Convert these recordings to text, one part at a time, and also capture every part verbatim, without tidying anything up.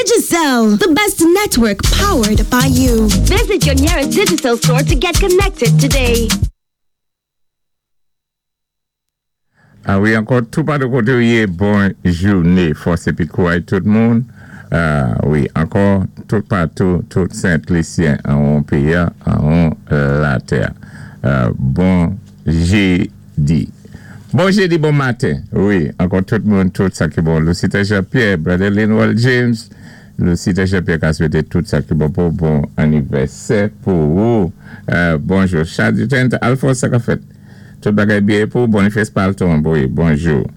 Digicel, the best network powered by you. Visit your nearest Digicel store to get connected today. Ah wi, ankò toupatou koté ou yé, bon jouné. Fòs épi kouray tout moun. Ah wi, ankò toupatou, tout Sent-Lisyen an péyi, an latè. Euh, bon jédi. Bon jédi, bon maten. Wi, ankò tout moun, tout sa ki bon. Lucita Jean-Pierre, Brother Linwell James, Lucita Jean-Pierre ka swété tout sa ki bon pou bon anivèsè pou ou. Euh, bonjou. Chadjent Alphonse, sa ka fèt? Tout bagay byen pou Boniface Palton, wi, bonjou.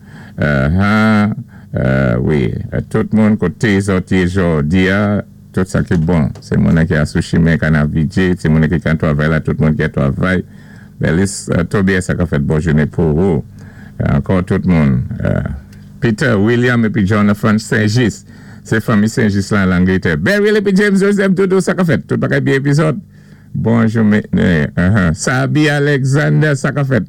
Euh, hein, euh, wi, tout moun koté zòt jòdi a, tout sa ki bon. Sé moun ki sou chimen Canal-Vijay, sé moun ki kan twavay la, tout moun ki twavay. Belis uh, Tobias, sa ka fèt, bon jouné pou ou. Ankò tout moun. Euh, Peter, William épi Jonathan Saint-Just. Sé fanmi Saint-Just la an Anglétè. Beryl épi James Joseph Doudou, sa ka fèt? Tout bagay byen épi zòt. Bonjou, uh -huh. Sabi Alexander, sa ka fèt?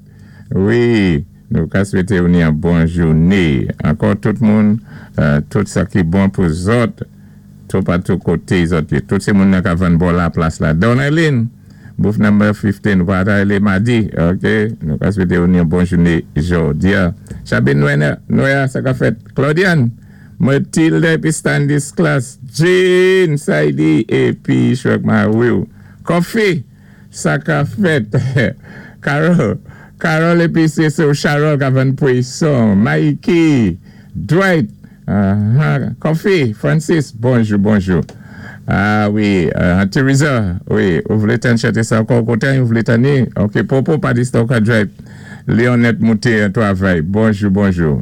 Wi, nou ka swété ou yon bon jouné. Ankò tout moun, euh, tout sa ki bon pou zòt, toupatou koté zòt. Tout sé moun ka vann bò la plas la. Don Eileen, booth number fifteen, wala madi, ok? Nou ka swété ou yon bon jouné jòdi. Chabin Noya, sa ka fèt? Claudiane, Mathilde épi Standis Class, Jean Saidi épi Shrek Mawiu. Kofi, sa ka fèt? Carol, Carol épi sé Charol ka vann pwason. Mikey, Dwight, uh, Kofi, Francis, bonjou, bonjou. Ah wi, uh, Teresa, wi, ou vlé tann chanté sa ankò koté, ou vlé tanné. Ok, Popo pa di ka drive. Léonette Mouté, twavay. Bonjou, bonjou.